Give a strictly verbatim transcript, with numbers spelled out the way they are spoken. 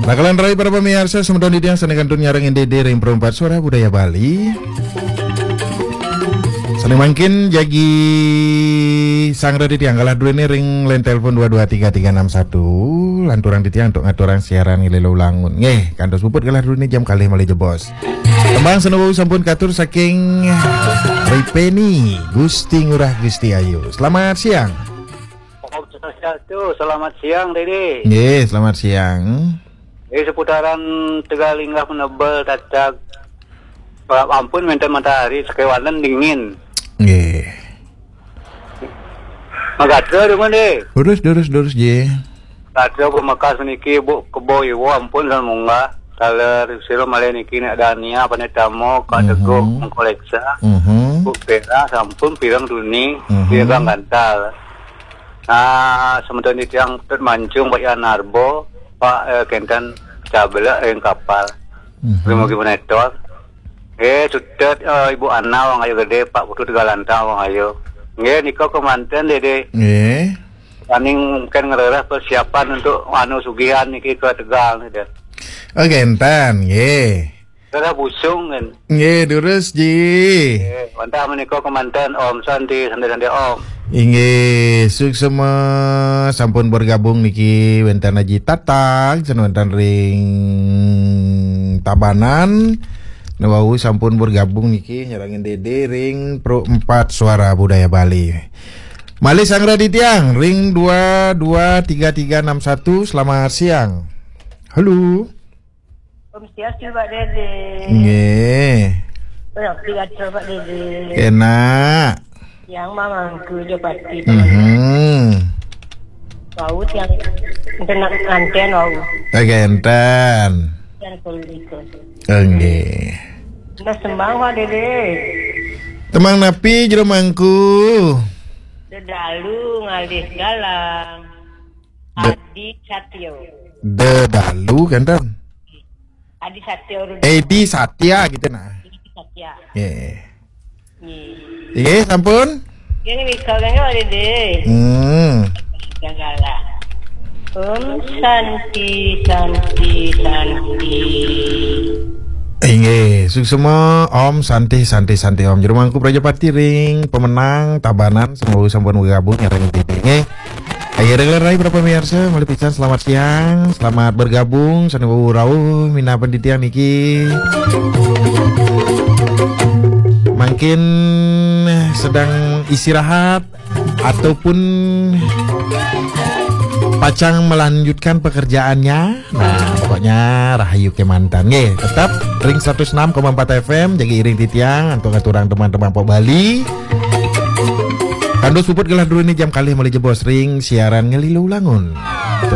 Nah, kalan rai para pamiarsa, semeton titiang sané kantun nyarengin Dédé ring Pro Empat Suara Budaya Bali. Sané mangkin jagi sanggra titiang galah druéné ring line telepon dua dua tiga tiga enam satu, lanturang titiang antuk ngaturang siaran ngalih lulangun. Nggih, kantos puput galah druéné jam kalih malih jebos. Tembang sané wau sampun katur saking Ripeni, Gusti Ngurah Gusti Ayu. Selamat siang. Om Swastiastu, selamat siang, Dédé. Nggih, selamat siang. Eh, seputaran Tegalinggah Penebel, Tatag. Ampun, wénten matahari, sakéwanten dingin. Nggih. Magatra, Dédé. Durus, durus, durus, Ji. Gatra pamekas niki, Bu, Kebo Iwo, ampun, sampun munggah. Taler sira malih niki, Nek Dania, Panik Tamo, Kak Teguh, Mhm. Mengkoleksa. Mhm. Bu Pera, sampun pireng tuni, Mhm. pireng gantal. Nah, semeton titiang Tut Mancung, Pak Yan Narbo, Pak, eh, kenten cabelek ring kapal. Mhm. Ring mugi menetor. Eh, sutet, eh, Ibu Ana, Wang Ayu Gedé, Pak Putu Tegalanta, Wang Ayu. Nggih, nika kemanten, Dédé. Nggih. Paning mungkin ngrereh persiapan untuk anu sugihan niki ke Tegal niki. Oh, kenten, nggih. Ngrereh busung kan. Nggih, durus, Ji. Nggih, wantah menika kemanten, Om Santi, Santi, Santi, Om. Inggih, suksma sampun bergabung niki wénten Aji Tatang, wénten ring Tabanan. Nah, wau sampun bergabung niki nyarengin Dédé ring Pro Empat Suara Budaya Bali. Malih sanggra titiang ring dua dua tiga tiga enam satu. Selamat siang. Halo. Om Swastiastu, Pak Dédé. Nggih. Berarti kata Pak Dédé. Enak. Yang mamangku aja pasti. Mhm. Wau yang kena nganten wau. Kenten. Yang kulit. Nggih. Nah, sembang, Pak Dédé. Tembang napi jero mangku? Dedalu ngalih galang. De- Adi Satyo. Dedalu, kenten. Adi Satyo Rudo. Edi Satya gitu, nah. Adi Satya. Nggih. Nggih. Nggih, sampun? Nggih, nika kan, Pak Dédé. Hmm. Gagala. Om Santi, Santi, Santi. Inggih, suksma, Om Santi, Santi, Santi, Om. Jero mangku Prajapati ring pemenang Tabanan, semoga sampun bergabung ya, ring Dédé, nggih. Ayo, ring rai para pemirsa, malih pisan selamat siang, selamat bergabung, sané wau rauh minab titiang niki. Mungkin sedang istirahat ataupun pacang melanjutkan pekerjaannya. Nah, pokoknya rahayu kemanten. Nggih, tetap ring seratus enam koma empat F M, jagi iring titiang, antuk ngaturang teman-teman Pok Bali. Kandos puput galah druéné jam kalih malih jebos ring siaran ngalih lulangun.